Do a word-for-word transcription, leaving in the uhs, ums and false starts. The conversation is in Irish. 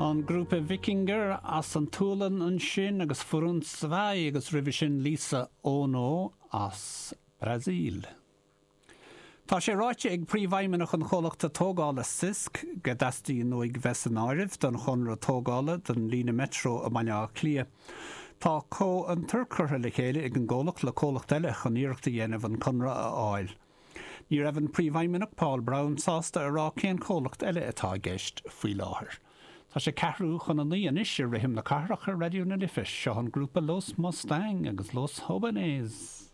An grúpa Vikingur as an tSualainn ansin agus Furun Svai agus roimhe sin Lisa Ono as Brasil. Tá sé ráite ag príomhfheidhmeannach an chomhlachta tógála Sisk go dteastaíonn uaidh bheith san áireamh don chonradh tógála don líne meitreo i mBaile Átha Cliath. Tá comhfhiontar curtha le chéile ag an gcomhlacht le comhlacht eile chun iarracht a dhéanamh an conradh a fháil. Ní raibh an príomhfheidhmeannach Paul Brown sásta a rá cén comhlacht eile atá i gceist faoi láthair. Tá sé ceathrú chun a naoi anois i rithim na cathrach ar Raidió na Life seo an grúpa Los Mustang agus Los Jóvenes.